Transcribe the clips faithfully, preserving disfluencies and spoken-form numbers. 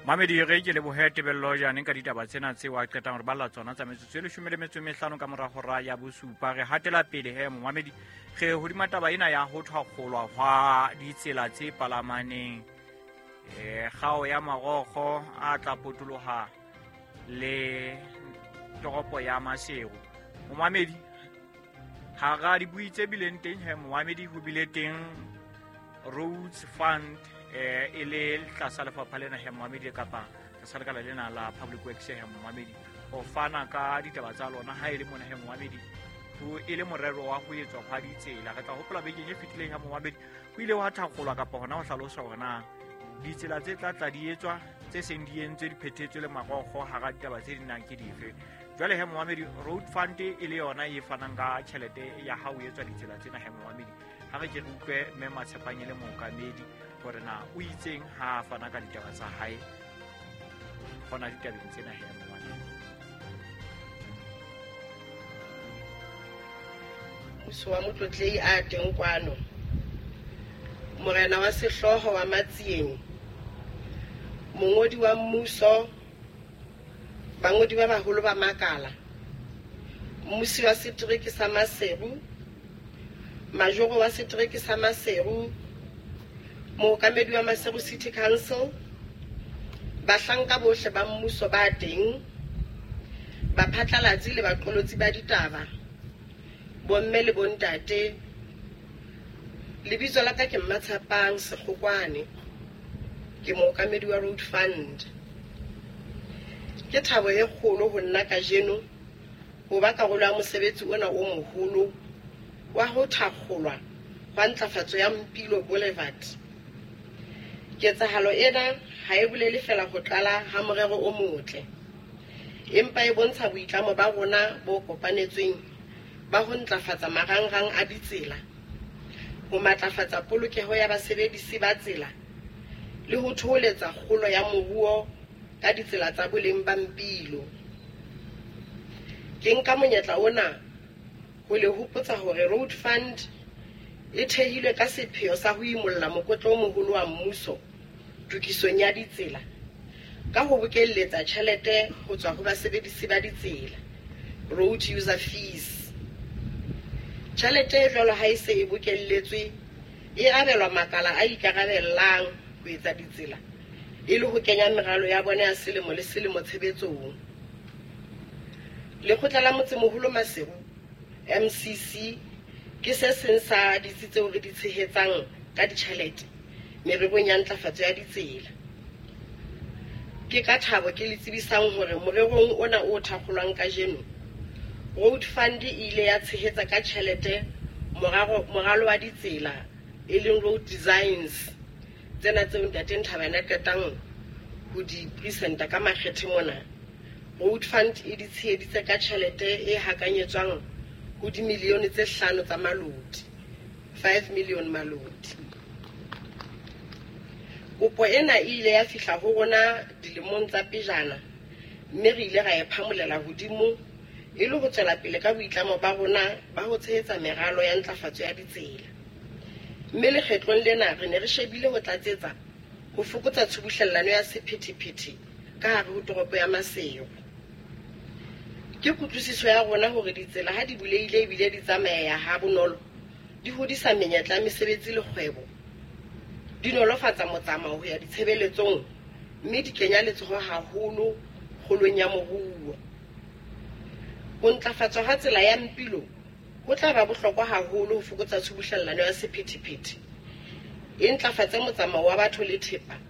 Mamedi re ke lebohe Tebello jane ka ditaba tsena tseo a qetang re balla tsona tsa metsotso e leshome le metso e mehlano ka mora hora ya bosupa. Re hatela pele he momamedi, re hodima taba ena ya ho thwakgolwa hwa ditsela tse palamaneng, eh kgao ya marokgo a tla potoloha le toropo ya Maseru. Momamedi, hara dibui tse bileng teng he momamedi, ho bile teng Roads Fund eh e le tlasa lefapha lena he momamedi, kapa tlasa lekala lena la Public Works he momamedi, ho fana ka ditaba tsa lona ha e le mona he momamedi, ho e le morero wa ho etswa hwa ditsela. Re tla hopola bekeng e fetileng ha momamedi ho ile wa thakgolwa kapa hona ho hlalosa hore na ditsela tse tla tla di etswa tse seng di entswe di phethetswe le marokgo hara ditaba tse di nang ke dife. Jwale he momamedi, Road Fund e le yona e fanang ka tjhelete ya ha ho etswa ditsela tsena he momamedi. Ha re ke re utlwe mme Matshepang e le mookamedi hore na o itseng ha a fana ka ditaba tsa hae hona ditabeng tsena he momamedi. Mmuso wa Motlotlehi a teng kwano, Morena wa Sehlooho wa Matsieng, mongodi wa mmuso, bangodi ba baholo ba makala, mmusi wa setereke sa Maseru, majoro wa setereke sa Maseru, mookamedi wa Maseru City Council, bahlanka bohle ba mmuso ba teng, baphatlalatsi le baqolotsi ba ditaba, bomme le bontate. Lebitso la ka ke Mmatshepang Sekgokwane, ke mookamedi wa Road Fund. Ke thabo e kgolo ho nna kajeno ho ba karolo ya mosebetsi ona o moholo wa ho thakgolwa hwa ntlafatso ya Mpilo Boulevard. Ketsahalo ena ha e bolele feela ho qala ha morero o motle, empa e bontsha boitlamo ba rona bo kopanetsweng ba ho ntlafatsa marangrang a ditsela, ho matlafatsa polokeho ya basebedisi ba tsela le ho thoholetsa kgolo ya moruo ka ditsela tsa boleng ba Mpilo. Ke nka monyetla ona ho le hopotsa hore Road Fund e thehilwe ka sepheo sa ho imolla mokotla o moholo wa mmuso tokisong ya ditsela ka ho bokelletsa tjhelete ho tswa ho basebedisi ba ditsela, road user fees. Tjhelete e jwalo ha e se e bokelletswe e abelwa makala a ikarabellang ho etsa ditsela e le ho kenya meralo ya bona ya selemo le selemo tshebetsong. Lekgotla la Motsemoholo Maseru M C C ke se seng sa ditsi tseo re di tshehetsang ka ditjhelete mererong ya ntlafatso ya ditsela. Ke ka thabo ke le tsebisang hore morerong ona o thakgolwang kajeno, Road Fund e ile ya tshehetsa ka tjhelete moralo, moralo wa ditsela e leng road designs tsena tseo Ntate Nthabane a qetang ho di presenta ka makgethe mona. Road Fund e di tsheheditse ka tjhelete e hakanyetswang ho dimilione tse hlano tsa maloti, five million maloti. Kopo ena e ile ya fihla ho rona dilemong tsa pejana, mme re ile ra e phamolela hodimo e le ho tswela pele ka boitlamo ba rona ba ho tshehetsa meralo ya ntlafatso ya ditsela. Mme lekgetlong lena re ne re shebile ho tlatsetsa ho fokotsa tshubuhlellano ya sephethephethe ka hare ho toropo ya Maseru. Ke kutlwisiso ya rona hore ditsela ha di bulehile ebile di tsamaya ha bonolo, di hodisa menyetla ya mesebetsi le kgwebo, di nolofatsa motsamao ho ya ditshebeletsong, mme di kenya letsoho haholo kgolong ya moruo. Ho ntlafatswa ha tsela ya Mpilo ho tla ba bohlokwa haholo ho fokotsa tshubuhlellano ya sephethephethe, e ntlafatse motsamao wa batho le thepa,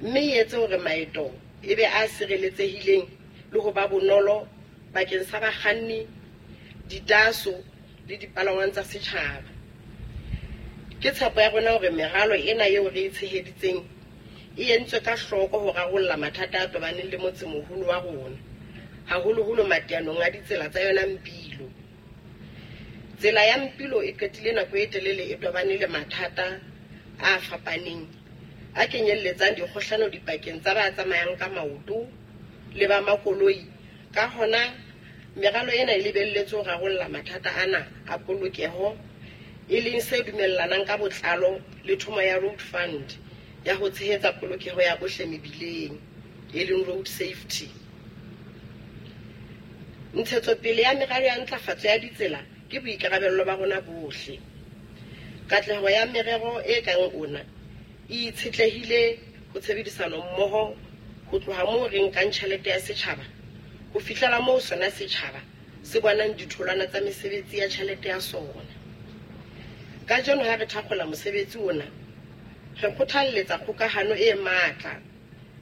mme e etse hore maeto e be a sireletsehileng le ho ba bonolo bakeng sa bakganni, ditaso le dipalangwang tsa setjhaba. Ke tshepo ya rona hore meralo ena eo re e tsheheditseng e entswe ka hloko ho rarolla mathata a tobaneng le motsemoholo wa rona, haholoholo mateanong a ditsela tsa yona Mpilo. Tsela ya Mpilo e qetile nako e telele e tobane le mathata a fapaneng a kenyelletsang dikgohlano dipakeng tsa ba tsamayang ka maoto le ba makoloi. Ka hona, meralo ena e lebelletswe ho rarolla mathata ana a polokeho, e leng se dumellanang ka botlalo le thomo ya Road Fund ya ho tshehetsa polokeho ya bohle mebileng. e leng road safety. Ntshetsopele ya meralo ya ntlafatso ya ditsela ke boikarabello ba rona bohle. Katleho ya merero e kang ona e itshetlehile ho tshebedisano mmoho ho tloha moo re nkang tjhelete ya setjhaba ho fihlela moo sona setjhaba se bonang ditholwana tsa mesebetsi ya tjhelete ya sona. Kajeno ha re thakgola mosebetsi ona, re kgothalletsa kgokahano e matla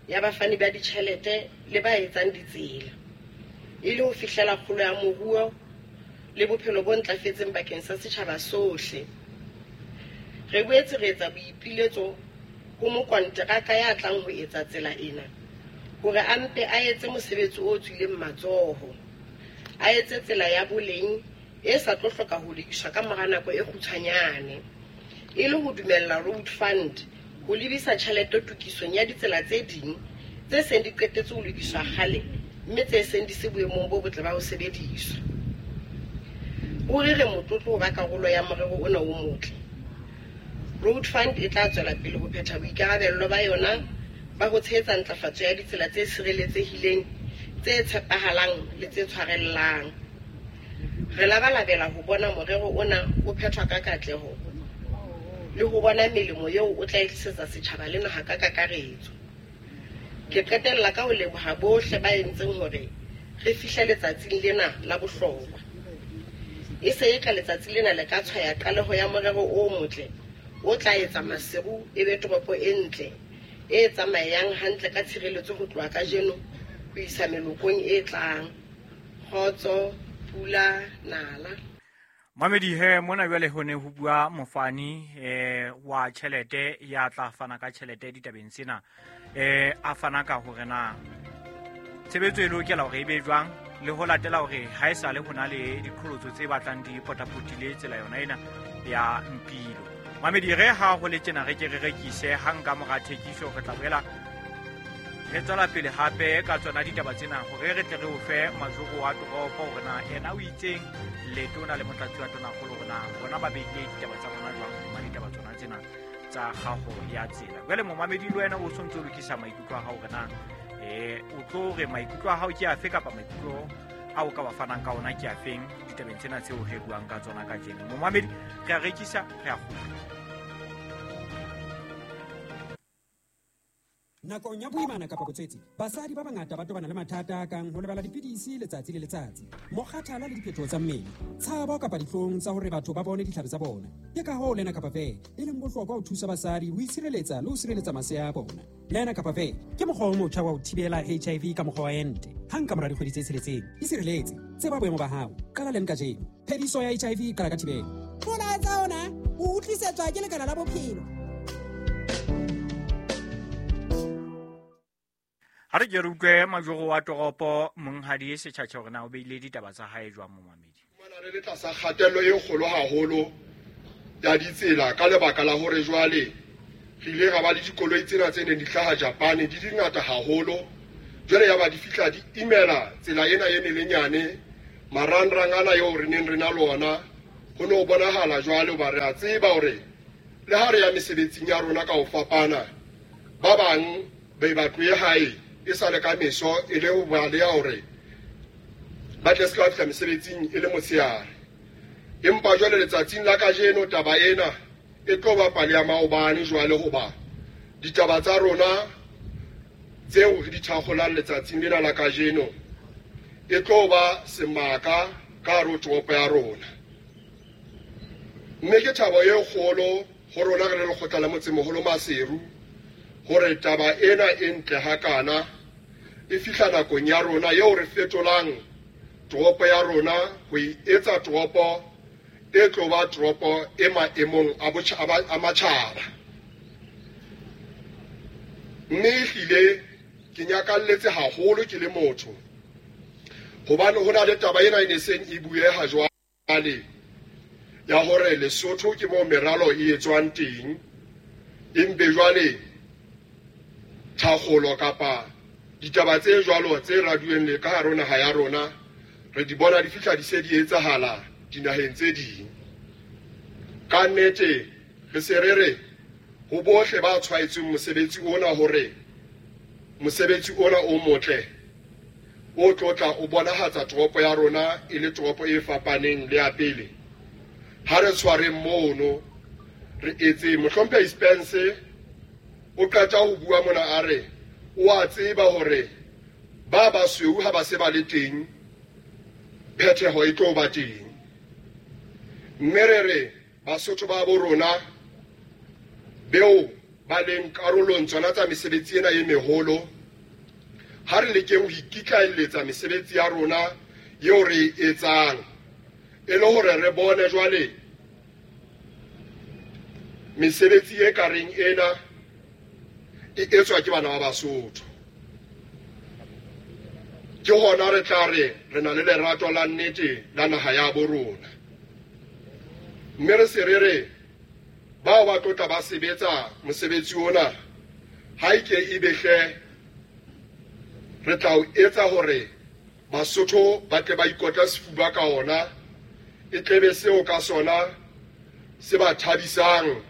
ya bafani ba ditjhelete le ba etsang ditsela, e le ho fihlela kgolo ya moruo le bophelo bo ntlafetseng bakeng sa setjhaba sohle. Re boetse re etsa boipiletso ho mokonteraka ya tlang ho etsa tsela ena hore a mpe a etse mosebetsi o tswileng matsoho, a etse tsela ya boleng e sa tlo hloka ho lokiswa ka mora nako e kgutshwanyane, e le ho dumella Road Fund ho lebisa tjhelete tokisong ya ditsela tse ding tse seng di qetetse ho lokiswa kgale mme tse seng di se boemong bo botle ba ho sebediswa. Ruri re motlotlo ho ba karolo ya morero ona o motle. Road Fund e tla tswela pele ho phetha boikarabello ba yona ba ho tshehetsa ntlafatso ya ditsela tse sireletsehileng, tse tshepahalang le tse tshwarellang. Re labalabela ho bona morero ona o phethwa ka katleho le ho bona melemo eo o tla e tlisetsa setjhaba le naha ka kakaretso. Ke qetella ka ho leboha bohle ba entseng hore re fihle letsatsing lena la bohlokwa. E se eka letsatsi lena le ka tshwaya qaleho ya morero o motle o tla etsa Maseru e be toropo e ntle e tsamayang hantle ka tshireletso ho tloha kajeno ho isa melokong e tlang. Kgotso, pula, nala. Mamedi he mona jwale ho ne ho bua mofani eh wa tjhelete ya tla fana ka tjhelete ditabeng tsena, eh a fana ka hore na tshebetso e lokela hore e be jwang le ho latela hore ha e sale ho na le diqholotso tse batlang di potapotile tsela yona ena ya Mpilo. Mamedi re ha ho le tjena re ke re rekise hang ka mora thekiso re tla boela re tswela pele hape ka tsona ditaba tsena hore re tle re o fe majoro wa toropo hore na ena o itseng letona le motlatsi wa tonakgolo hore na bona ba behile ditaba tsa bona jwang hodima ditaba tsona tsena tsa kgaho ya tsela. Jwale momamedi le wena o sontse o lokisa maikutlo a hao hore na eh o tlo re maikutlo a hao ke afe kapa maikutlo a o ka ba fanang ka ona ke afeng ditabeng tsena tseo re buang ka tsona kajeno. Momamedi re a rekisa, re a kgutla. Nakong ya boimana kapa botswetsi, basadi ba bangata ba tobana le mathata a kang ho lebala dipidisi letsatsi le letsatsi, mokgathala le diphetoho tsa mmele, tshabo kapa dihlong tsa hore batho ba bone ditlhabi tsa bona. Ke ka hoo Lenacapavir e leng bohlokwa ho thusa basadi ho itshireletsa le ho sireletsa masea a bona. Lenacapavir ke mokgwa o motjha wa ho thibela H I V ka mokgwa wa ente. Hang ka mora dikgwedi tse tsheletseng, isireletse, tseba boemo ba hao, qala leng kajeno. Phediso ya H I V e qala ka thibelo. Molaetsa ona o utlwisetswa ke Lekala la Bophelo. Ha re ke re utlwe majoro wa toropo monghadi Setjhatjha hore na o beile ditaba tsa hae jwang momamedi. Fumana re le tlasa kgatello e kgolo haholo ya ditsela ka lebaka la hore jwale re ile ra ba le dikoloi tsena tse neng di hlaha Japan di dingata haholo. Jwale ya ba di fihla di imela tsela ena e melenyane marangrang ana eo re neng re na le ona ho no bonahala jwale hoba re a tseba hore le ha re ya mesebetsing ya rona ka ho fapana ba bang ba ba tlohe hae e sale ka meso e le ho ba le ya hore ba tle se ka fihla mesebetsing e le motshehare. Empa jwale letsatsing la kajeno taba ena e tlo ba pale ya maobane jwale hoba ditaba tsa rona tseo re di thakgolang letsatsing lena la kajeno e tlo ba semaka ka hare ho toropo ya rona. Mme ke thabo e kgolo ho rona re le lekgotla la motsemoholo Maseru hore taba ena e ntle hakana e fihla nakong ya rona eo re fetolang toropo ya rona ho e etsa toropo e tlo ba toropo e maemong a botjhaba a matjhaba. Mme ehlile ke nyakalletse haholo ke le motho hobane ho na le taba ena e ne seng e bueha jwale ya hore Lesotho ke moo meralo e etswang teng, empe jwale thakgolo kapa ditaba tse jwalo tse raduweng le ka hare ho naha ya rona re di bona di fihla di se di etsahala dinaheng tse ding. Ka nnete re se re re ho bohle ba tshwaetsweng mosebetsi ona hore mosebetsi ona o motle o tlotla o bonahatsa toropo ya rona e le toropo e fapaneng le ya pele. Ha re tshwareng mono re etse. Mohlomphehi Spence o qeta ho bua mona a re o a tseba hore ba basweu ha ba se ba le teng phetheho e tlo ba teng. Mme re re Basotho ba bo rona beo ba leng karolong tsona tsa mesebetsi ena e meholo, ha re lekeng ho ikitlaelletsa mesebetsi ya rona eo re e etsang e le hore re bone jwale mesebetsi e ka reng ena e etswa ke bana ba Basotho. Ke hona re tla re re na le lerato la nnete la naha ya bo rona. Mme re se re re bao ba tlotla ba sebetsa mosebetsi ona ha e ke e behle re tla o etsa hore Basotho ba tle ba ikotla sefuba ka ona, e tlebe seo ka sona se ba thabisang.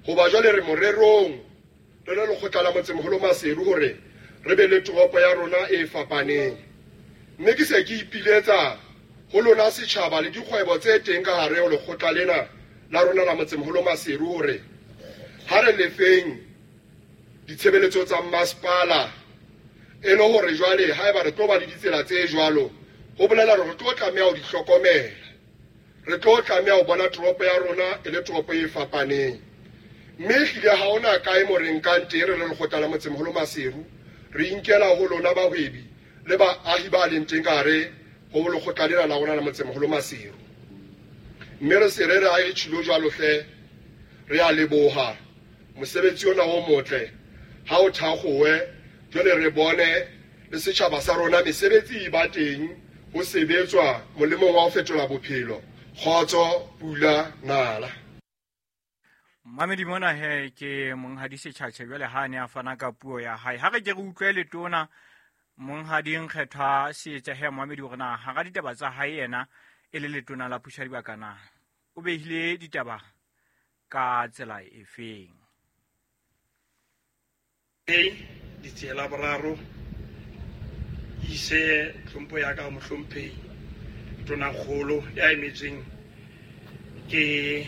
Hoba jwale re morerong re le lekgotla la Motsemoholo Maseru hore re be le toropo ya rona e fapaneng. Mme ke se ke ipiletsa ho lona setjhaba le dikgwebo tse teng ka hare ho lekgotla lena la rona la Motsemoholo Maseru hore ha re lefeng ditshebeletso tsa masepala e le hore jwale haeba re tlo ba le ditsela tse jwalo, ho bolela hore re tlo tlameha ho di hlokomela, re tlo tlameha ho bona toropo ya rona e le toropo e fapaneng. Mme ehlile ha hona kae mo re nkang teng re le lekgotla la Motsemoholo Maseru, re inkela ho lona bahwebi le baahi ba leng teng ka hare ho lekgotla lena la rona la Motsemoholo Maseru. Mme re se re re ha e tjhilo jwalo hle, re a leboha mosebetsi ona o motle ha o thakgowe. Jwale re bone le setjhaba sa rona mesebetsi e ba teng ho sebetswa molemong wa ho fetola bophelo. Kgotso, pula, nala. Mamedi mona he ke monghadi Setjhatjhe jwale ha ne a fana ka puo ya hae. Ha re ke re utlwe letona monghadi Nkgethwa Seetša he mamedi hore na hara ditaba tsa hae yena e le letona la puso ya dibaka na o behile ditaba ka tsela efeng. Ditsela boraro ise tlhompho ya ka mohlomphehi Tonakgolo ya emetseng ke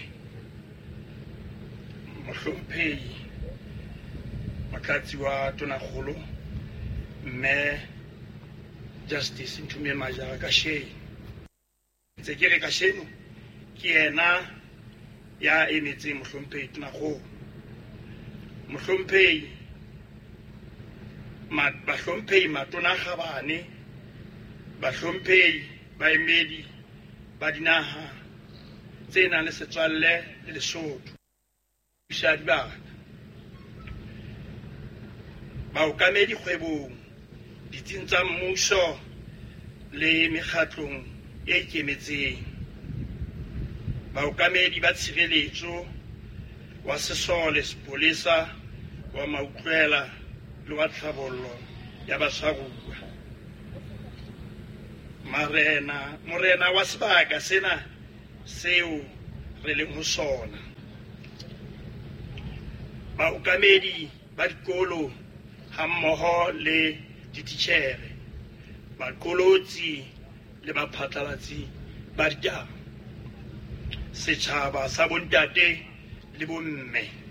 mohlomphehi motlatsi wa Tonakgolo mme Justice Nthumie Majara kasheno. Ntse ke re kasheno ke yena ya emetseng mohlomphehi Tonakgolo. Mohlomphehi bahlomphehi matona kgabane, bahlomphehi baemedi ba dinaha tse nang le setswalle le Lesotho, puso dibaka, baokamedi kgwebong, ditsing tsa mmuso le mekgatlong e ikemetseng, baokamedi ba tshireletso wa sesole, sepolesa, wa mautlwela le wa tlhabollo ya batshwaruwa, marena morena wa sebaka sena seo re leng ho sona, baokamedi ba dikolo hammoho le dititjhere, baqolotsi le baphatlalatsi ba ditaba, setjhaba sa bontate le bomme.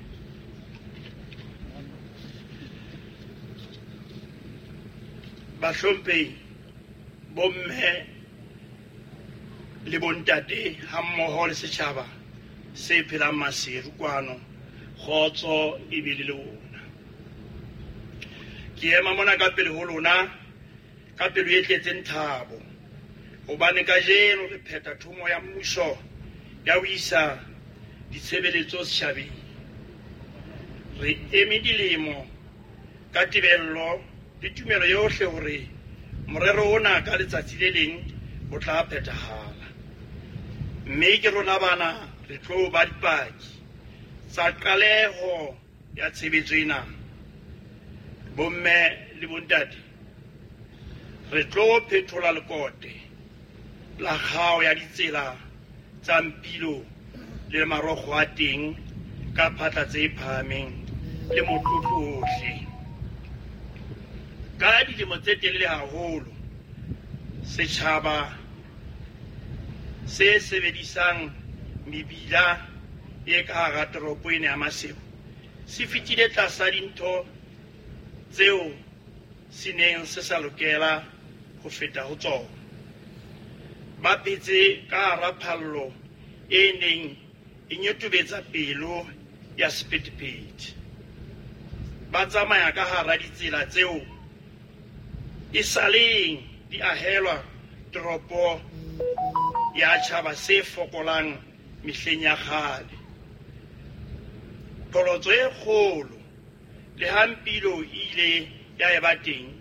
Bahlomphehi, bomme le bontate hammoho le setjhaba se phelang Maseru kwano, kgotso e be le lona. Ke ema mona ka pele ho lona ka pelo e tletseng thabo, hobane kajeno re phetha thomo ya mmuso ya ho isa ditshebeletso setjhabeng. Re eme dilemo ka tebello le tumelo yohle hore morero ona ka letsatsi le leng o tla phethahala. Mme ke rona bana re tlo ba dipaki tsa qaleho ya tshebetso ena. Bomme le bontate, re tlo phethola lekote la kgao ya ditsela tsa Mpilo le marokgo a teng ka phatla tse phahameng le motlotlo ohle. dilemo tse telele haholo setjhaba se sebedisang mebila e ka hara toropo ena ya Maseru se fetile tlasa dintho tseo se neng se sa lokela ho feta ho tsona. Ba phetse ka hara phallo e neng e nyotobetsa pelo ya sephethephethe. Ba tsamaya ka hara ditsela tseo e saleng di ahelwa toropo ya tjhaba se fokolang mehleng ya kgale. Pholotso e kgolo le ha Mpilo e ile ya eba teng,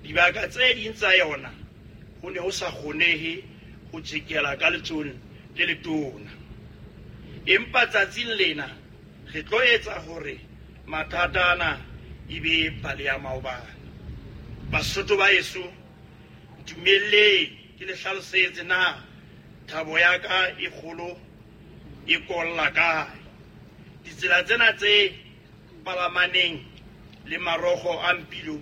dibaka tse ding tsa yona ho ne ho sa kgonehe ho tjekela ka letsohong le letona. Empa tsatsing lena re tlo etsa hore mathata ana e be pale ya maobane. Basotho ba heso, ntumelleng ke le hlalosetse na thabo ya ka e kgolo e kolla kae. Ditsela tsena tse palamaneng le marokgo a Mpilo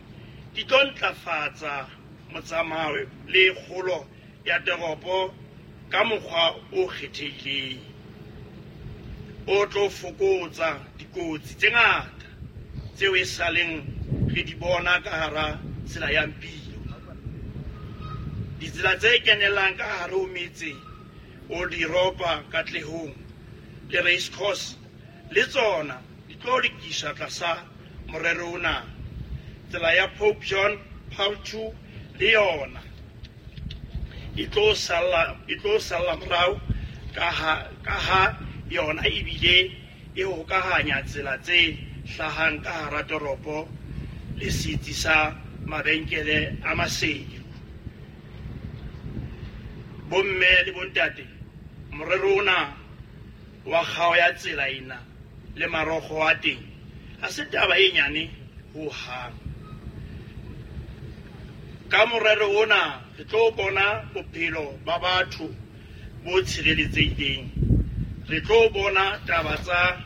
di tlo ntlafatsa motsamao le kgolo ya toropo ka mokgwa o kgethehileng, o tlo fokotsa dikotsi tse ngata tseo e saleng re di bona ka hara tsela ya Mpilo. Ditsela tse kenelang ka hare ho metse o diropa Katlehong le Race Course le tsona di tlo lokiswa tlasa morero ona. Tsela ya Pope John Paul two le yona e tlo salla e tlo salla morao ka ha ka ha yona ebile e hokahanya tsela tse hlahang ka hara toropo le setsi sa mabenkele a Maseru. Bomme le bontate, morero ona wa kgao ya tsela ena le marokgo a teng ha se taba e nyane ho hang. Ka morero ona re tlo bona bophelo ba batho bo tshireletsehileng. Re tlo bona taba tsa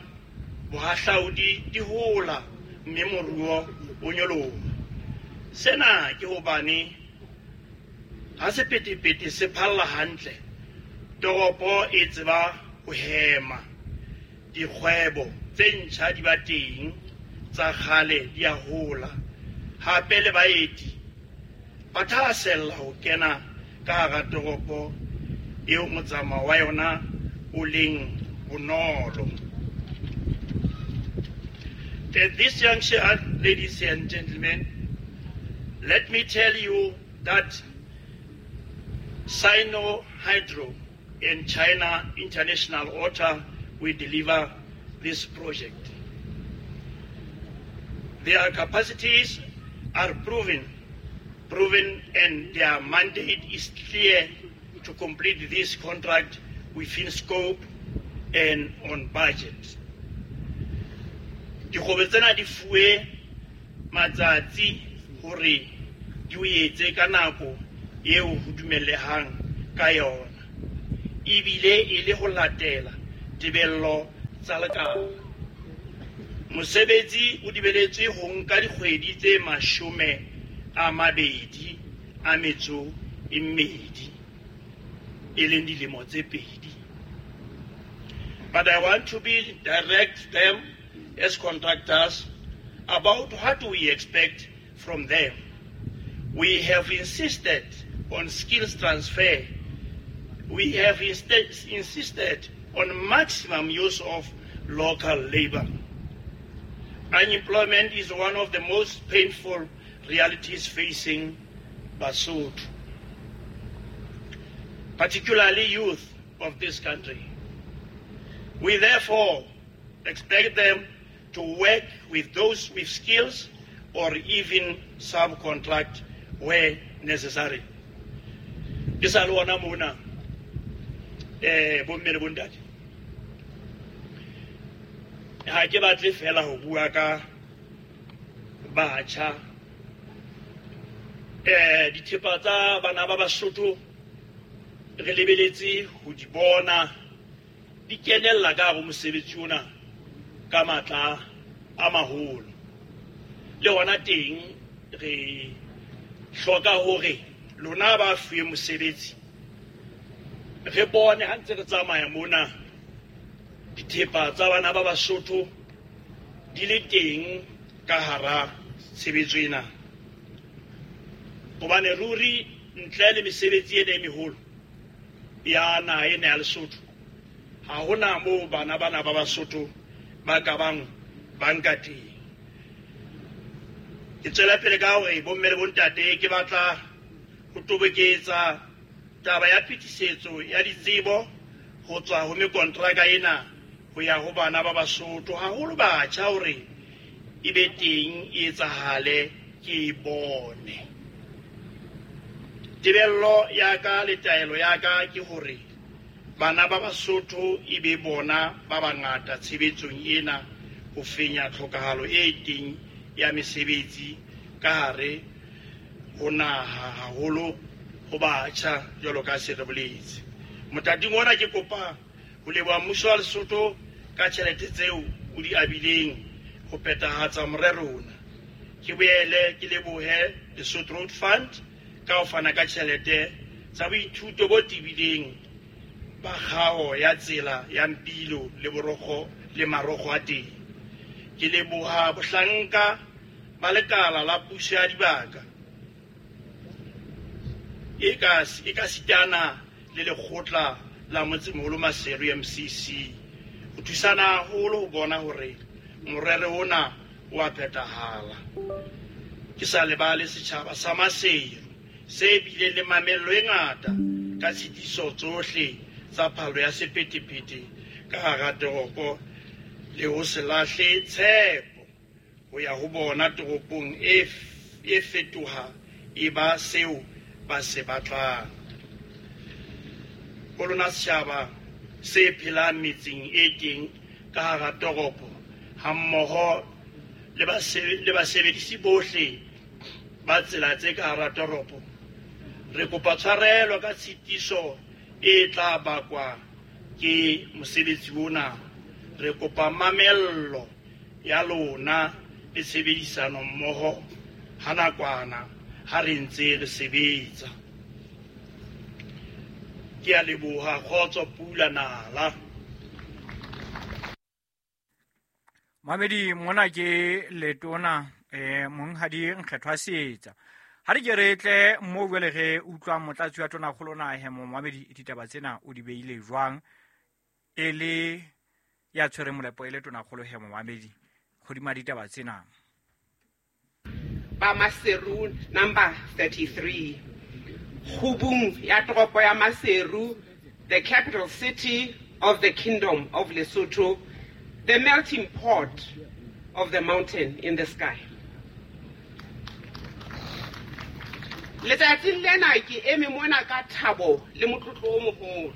bohahlaudi di hola mme moruo o nyoloha. Sena ke hobane ha sephethephethe se phalla hantle, toropo e tseba ho hema. Dikgwebo tse ntjha di ba teng, tsa kgale di a hola. Hape le baeti ba thahasella ho kena ka hara toropo eo motsamao wa yona o leng bonolo. At this juncture, ladies and gentlemen, let me tell you that Sino Hydro and China International Water will deliver this project. Their capacities are proven, proven, and their mandate is clear to complete this contract within scope and on budget. Dikgwebo tsena di fuwe matsatsi hore di o etse ka nako eo ho dumellehang ka yona, ebile e le ho latela tebello tsa lekala. Mosebetsi o dibeletswe ho nka dikgwedi tse mashome a mabedi a metso e mmedi, e leng dilemo tse pedi. But I want to be direct them as contractors about what we expect from them. We have insisted on skills transfer. We have insisted on maximum use of local labor. Unemployment is one of the most painful realities facing Basotho, particularly youth of this country. We therefore expect them to work with those with skills or even subcontract where necessary. Ke sa le ona mona, eh, bomme le bontate. Ha ke batle fela ho bua ka batjha. Eh, dithepa tsa bana ba Basotho re lebeletse ho di bona di kenella ka hare ho mosebetsi ona ka matla a maholo. Le hona teng re Hloka hore lona ba fuwe mosebetsi re bone ha ntse re tsamaya mona dithepa tsa bana ba Basotho di le teng ka hara tshebetso ena. Hobane ruri ntle le mesebetsi ena e meholo ya naha ena ya Lesotho, ha hona moo bana bana ba Basotho ba ka bang ba nka teng. Ke tswela pele ka hore bomme le bontate ke batla ho toboketsa taba ya phetisetso ya ditsebo ho tswa ho mekontraka ena ho ya ho bana ba Basotho, haholo batjha, hore e be teng e etsahale ke e bone. Tebello ya ka le taelo ya ka ke hore bana ba Basotho e be bona ba bangata tshebetsong ena ho fenya tlhokahalo e teng ya mesebetsi ka hare ho naha, haholo ho batjha jwalo ka se re boletse. Mothating ona ke kopa ho leboha mmuso wa Lesotho ka tjhelete tseo o di abileng ho phethahatsa morero ona. Ke boele ke lebohe Lesotho Road Fund ka ho fana ka tjhelete tsa boithuto bo tebileng ba kgao ya tsela ya Mpilo le borokgo le marokgo a teng. Ke leboha bohlanka ba lekala la puso ya dibaka e ka e ka sitana le lekgotla la motsemoholo Maseru M C C ho thusana haholo ho bona hore morero ona o a phethahala. Ke sa lebale setjhaba sa Maseru se bileng le mamello e ngata ka tshitiso tsohle tsa phalo ya sephethephethe ka hara toropo le ho se lahle tshepo ho ya ho bona toropong e e fetoha e ba seo ba se batlang. Ho lona setjhaba se phelang metseng e teng ka hara toropo hammoho le basebedisi bohle ba tsela tse ka hara toropo, re kopa tshwarelo ka tshitiso e tla bakwa ke mosebetsi ona. Re kopa mamello ya lona le tshebedisano mmoho ha nakwana ha re ntse re sebetsa. Ke a leboha. Kgotso, pula nala. Mamedi, mona ke letona eh monghadi Nkgethwa Seetsa. Ha re ke re tle mo jwale re utlwa motlatsi wa tonakgolo na he momamedi ditaba tsena o di beile jwang e le ya tshwere molepo e le tonakgolo he momamedi hodima ditaba tsena. Ba Maseru number thirty-three, kgubung ya toropo ya Maseru, the capital city of the Kingdom of Lesotho, the melting pot of the mountain in the sky. Letsatsing lena ke eme mona ka thabo le motlotlo o moholo.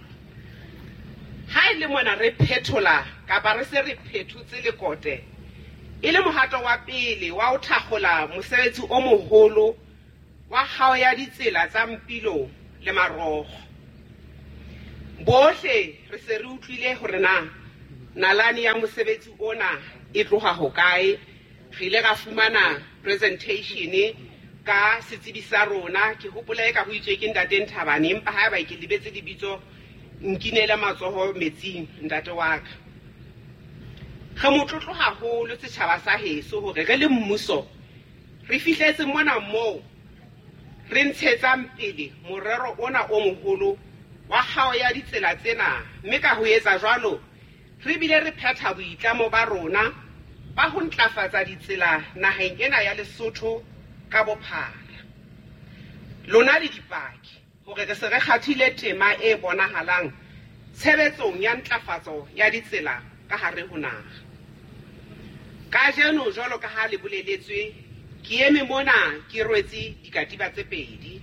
Ha e le mona re phethola kapa re se re phethotse lekote e le mohato wa pele wa ho thakgola mosebetsi o moholo wa kgao ya ditsela tsa Mpilo le marokgo. Bohle re se re utlwile hore na nalane ya mosebetsi ona e tloha hokae. Re ile ra fumana presentation ka setsebi sa rona. Ke hopola e ka ho itswe ke ntate Nthabane, empa haeba ke lebetse lebitso nkinele matsoho metsing ntate wa ka. Re motlotlo haholo setjhaba sa heso hore re le mmuso re fihletse mona moo re ntshetsang pele morero ona o moholo wa kgao ya ditsela tsena, mme ka ho etsa jwalo re bile re phetha boitlamo ba rona ba ho ntlafatsa ditsela naheng ena ya Lesotho ka bophara. Lona le dipaki hore re se re kgathile tema e bonahalang tshebetsong ya ntlafatso ya ditsela ka hare ho naha. Kajeno jwalo ka ha le boleletswe, ke eme mona ke rwetse dikatiba tse pedi.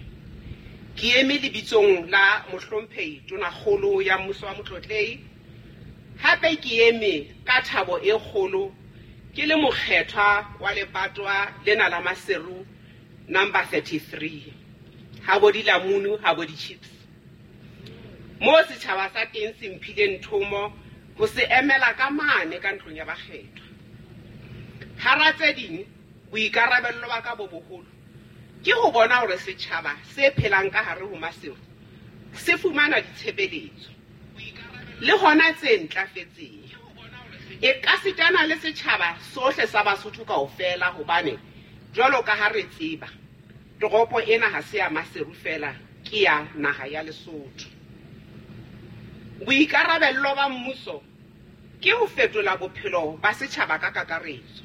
Ke eme lebitsong la mohlomphehi Tonakgolo ya mmuso wa Motlotlehi, hape ke eme ka thabo e kgolo ke le mokgethwa wa lebatwa lena la Maseru number thirty-three, ha bo dilamunu ha bo di-chips. Mo setjhaba sa teng se mphileng thomo ho se emela ka mane ka ntlong ya bakgethwa. Hara tse ding, boikarabello ba ka bo boholo ke ho bona hore setjhaba se phelang ka hare ho Maseru se fumana ditshebeletso le hona tse ntlafetseng. E ka sitana le setjhaba sohle sa Basotho kaofela, hobane jwalo ka ha re tseba toropo ena ha se ya Maseru fela, ke ya naha ya Lesotho. Boikarabello ba mmuso ke ho fetola bophelo ba setjhaba ka kakaretso,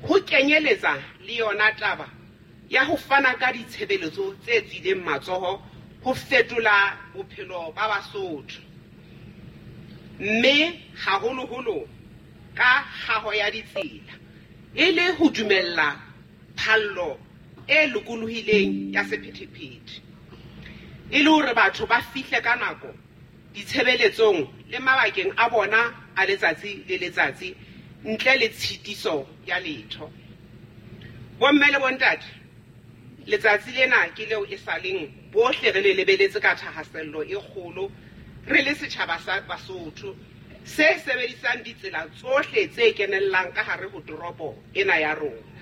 ho kenyeletsa le yona taba ya ho fana ka ditshebeletso tse tswileng matsoho ho fetola bophelo ba Basotho, mme haholoholo ka kgaho ya ditsela e le ho dumella phallo e lokolohileng ya sephethephethe, e le hore batho ba fihle ka nako ditshebeletsong le mabakeng a bona a letsatsi le letsatsi ntle le tshitiso ya letho. Bomme le bontate, letsatsi lena ke leo e saleng bohle re le lebeletse ka thahasello e kgolo re le setjhaba sa Basotho se sebedisang ditsela tsohle tse kenellang ka hare ho toropo ena ya rona.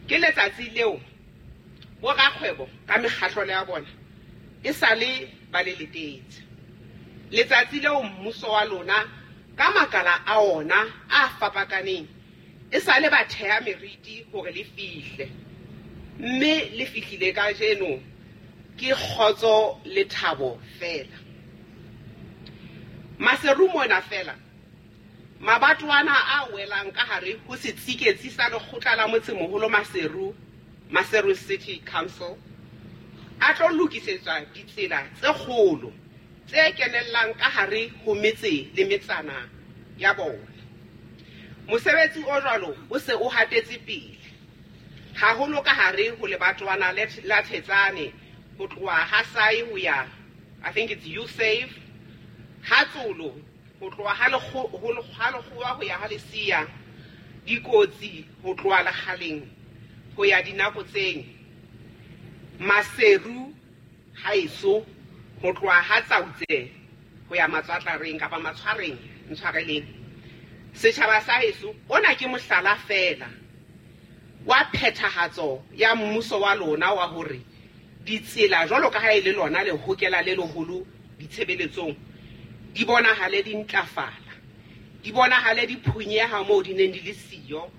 Ke letsatsi leo borakgwebo ka mekgatlo ya bona e sale ba le letetse. Letsatsi leo mmuso wa lona ka makala a ona a fapakaneng e sale ba theha meriti hore le fihle, mme le fihlile kajeno ke kgotso le thabo fela. Maseru mona fela, mabatwana a welang ka hare ho setsiketsi sa lekgotla la motsemoholo Maseru, Maseru City Council, a tlo lokisetswa ditsela tse kgolo tse kenellang ka hare ho metse le metsana ya bona. Mosebetsi o jwalo o se o hatetse pele haholo ka hare ho lebatwana la Thetsane ho tloha ha Sai ho ya, I think it's U-Save, ha Tsolo ho tloha ha Lekgowa ho ya ha Lesia, dikotsi ho tloha Lekgaleng ho ya Dinakotseng, Maseru haeso ho tloha ha Tsautse ho ya Matswatlareng kapa Matshwareng, ntshwareleng. Setjhaba sa heso, ona ke mohlala fela wa phethahatso ya mmuso wa lona wa hore ditsela jwalo ka ha e le lona le hokela le leholo ditshebeletsong di bonahale di ntlafala, di bonahale di phunyeha moo di neng di le siyo.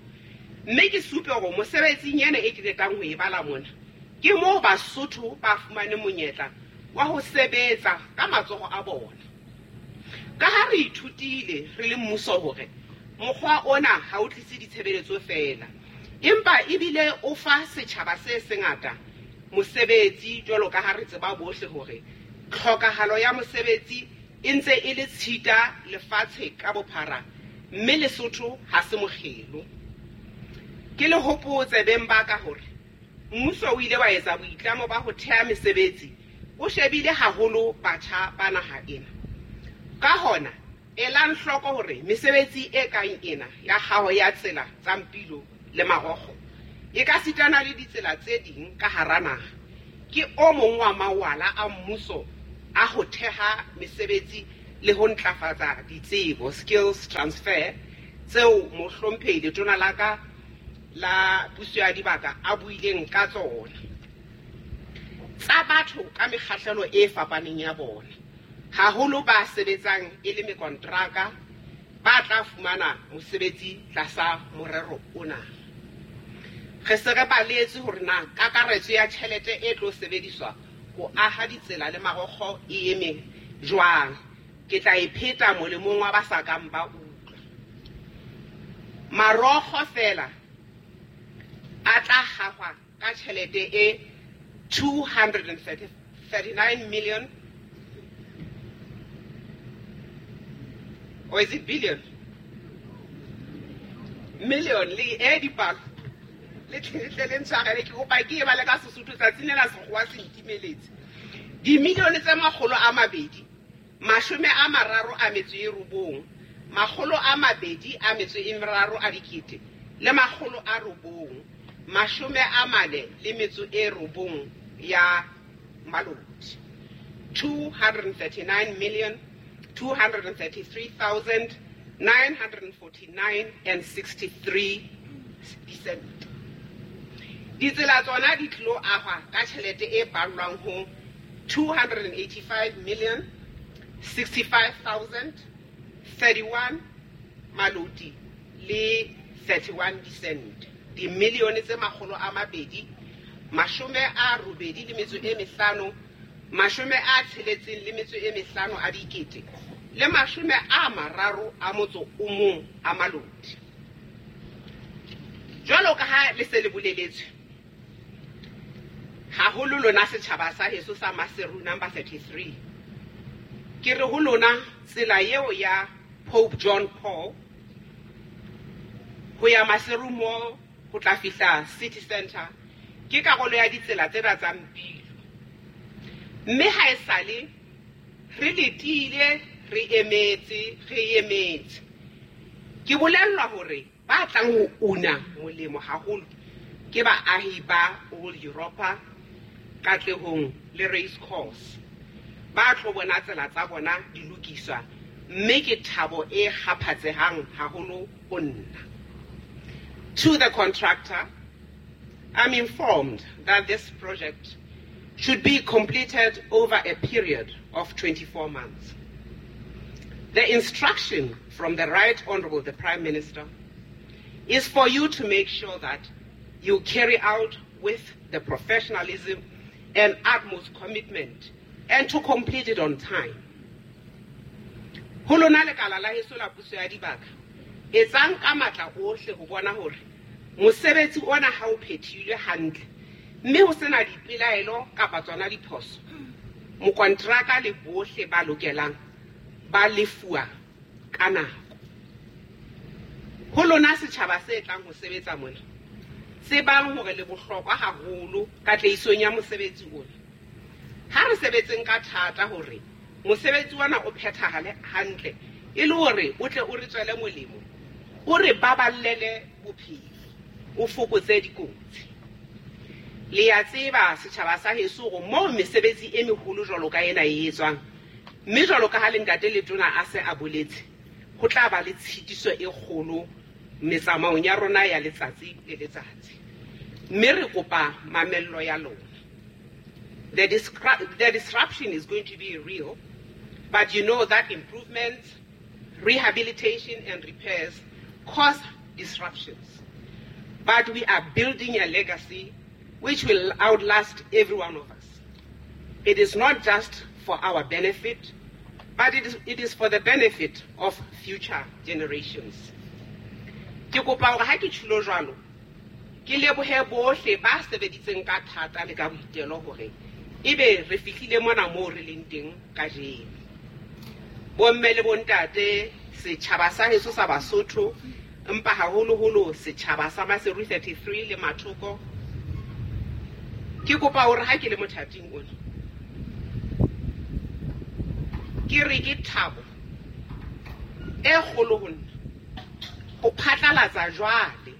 Mme ke supe hore mosebetsing ena e ke qetang ho e bala mona ke moo Basotho ba fumane monyetla wa ho sebetsa ka matsoho a bona. Ka ha re ithutile re le mmuso hore mokgwa ona ha o tlise ditshebeletso fela, empa ebile o fa setjhaba se sengata mosebetsi, jwalo ka ha re tseba bohle hore tlhokahalo ya mosebetsi e ntse e le tshita lefatshe ka bophara, mme Lesotho ha se mokgelo. Ke le hopotse beng ba ka hore mmuso o ile wa etsa boitlamo ba ho theha mesebetsi o shebile haholo batjha ba naha ena. Ka hona, elang hloko hore mesebetsi e kang ena ya kgaho ya tsela tsa Mpilo le Marokgo e ka sitana le ditsela tse ding ka hara naha ke o mong wa mawala a mmuso a ho theha mesebetsi le ho ntlafatsa ditsebo, skills transfer, tseo mohlomphehi letona la ka la puso ya dibaka a buileng ka tsona, tsa batho ka mekgahlelo e fapaneng ya bona, haholo ba sebetsang e le mekontraka ba tla fumana mosebetsi tlasa morero ona. Re se re baletse hore na kakaretso ya tjhelete e tlo sebediswa ho aha ditsela le marokgo e eme jwang. Ke tla e pheta molemong wa ba sa kang ba utlwa. Marokgo fela a tla hahwa ka tjhelete e two hundred thirty-nine million, or is it billion? Million le e dipalo le tle le ntshwarele ke kopa ke e bale ka Sesotho tsatsing lena sekgowa se ntimeletse. Dimilione tse makgolo a mabedi mashome a mararo a metso e robong makgolo a mabedi a metso e meraro a dikete le makgolo a robong mashome a mane le metso e robong ya maloti, two hundred thirty-nine million two hundred thirty-three thousand nine hundred forty-nine and sixty-three cents. Ditsela tsona di tlilo ahwa ka tjhelete e ballwang ho two hundred eighty-five million sixty-five thousand thirty-one maloti le thirty-one dicent. Dimilione tse makgolo a mabedi mashome a robedi le metso e mehlano mashome a tsheletseng le metso e mehlano a dikete le mashome a mararo a motso o mong a maloti. Jwalo ka ha le se le boleletswe haholo lona setjhaba sa heso sa Maseru number thirty-three, ke re ho lona tsela eo ya Pope John Paul ho ya Maseru Mall ho tla fihla City Center ke karolo ya ditsela tsena tsa Mpilo. Mme ha esale re letile re emetse re emetse ke bolellwa hore ba tlang ho una molemo haholo ke baahi ba Old Europa, Katlehong le Race Course ba tlo bona tsela tsa bona di lokiswa, mme ke thabo e kgaphatsehang haholo ho nna. To the contractor, I'm informed that this project should be completed over a period of twenty-four months. The instruction from the Right Honorable the Prime Minister is for you to make sure that you carry out with the professionalism and utmost commitment and to complete it on time. Ho lona lekala la heso la puso ya dibaka, etsang ka matla ohle ho bona hore mosebetsi ona ha o phethilwe hantle mme ho sena dipelaelo kapa tsona diphoso, mokontraka le bohle ba lokelang ba lefuwa ka nako. Ho lona setjhaba se tlang ho sebetsa mona, tsebang hore le bohlokwa haholo katlehisong ya mosebetsi ona. Ha re sebetseng ka thata hore mosebetsi ona o phethahale hantle e le hore o tle o re tswele molemo, o re baballele bophelo, o fokotse dikotsi. Le ya tseba setjhaba sa heso hore moo mesebetsi e meholo jwalo ka ena e etswang, mme jwalo ka ha le ntate Letona a se a boletse, ho tla ba le tshitiso e kgolo metsamaong ya rona ya letsatsi le letsatsi. Mme re kopa mamello ya lona. The, the disruption is going to be real, but you know that improvements, rehabilitation and repairs cause disruptions. But we are building a legacy which will outlast every one of us. It is not just for our benefit, but it is, it is for the benefit of future generations. Ke kopa hore ha ke tjhulo jwalo, ke lebohe bohle ba sebeditseng ka thata le ka boitelo hore ebe re fihlile mona moo re leng teng kajeno. Bomme le bontate, setjhaba sa heso sa Basotho, empa haholoholo setjhaba sa Maseru thirty-three le Mathoko, ke kopa hore ha ke le mothating ona, ke re ke thabo e kgolo ho nna ho phatlalatsa jwale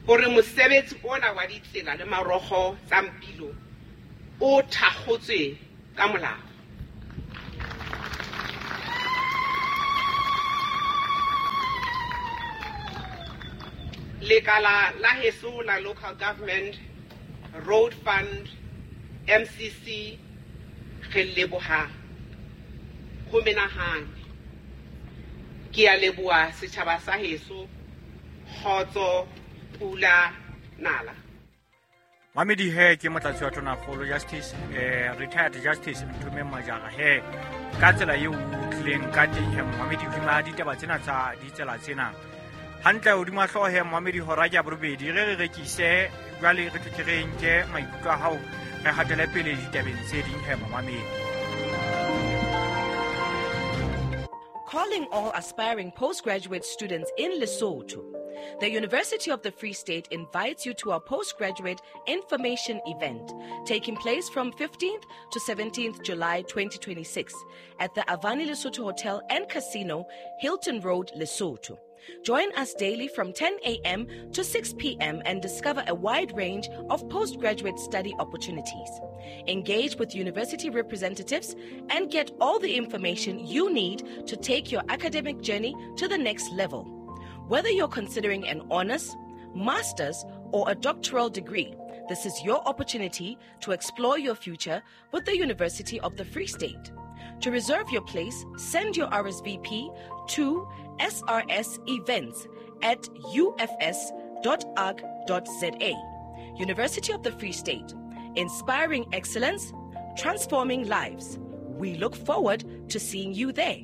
hore mosebetsi ona wa ditsela le marokgo tsa Mpilo o thakgotswe ka molao. Lekala la heso la Local Government Road Fund M C C re leboha ho menahane. Ke a leboha setjhaba sa heso, kgotso, pula, nala. Mamedi he ke motlatsi wa Tonakgolo Justice eh, retired Justice Nthomeng Majara he ka tsela eo o tlileng ka teng he Mamedi hodima ditaba tsena tsa ditsela tsena hantle hodima hlooho he Mamedi hora ke ya borobedi re re rekise jwale re tle re nke maikutlo a hao re hatele pele ditabeng tse ding he Mamedi. Calling all aspiring postgraduate students in Lesotho. The University of the Free State invites you to our postgraduate information event taking place from fifteenth to seventeenth July twenty twenty-six at the Avani Lesotho Hotel and Casino, Hilton Road, Lesotho. Join us daily from ten a.m. to six p.m. and discover a wide range of postgraduate study opportunities. Engage with university representatives and get all the information you need to take your academic journey to the next level. Whether you're considering an honors, master's, or a doctoral degree, this is your opportunity to explore your future with the University of the Free State. To reserve your place, send your R S V P to S R S events at U F S dot org dot Z A. University of the Free State, inspiring excellence, transforming lives. We look forward to seeing you there.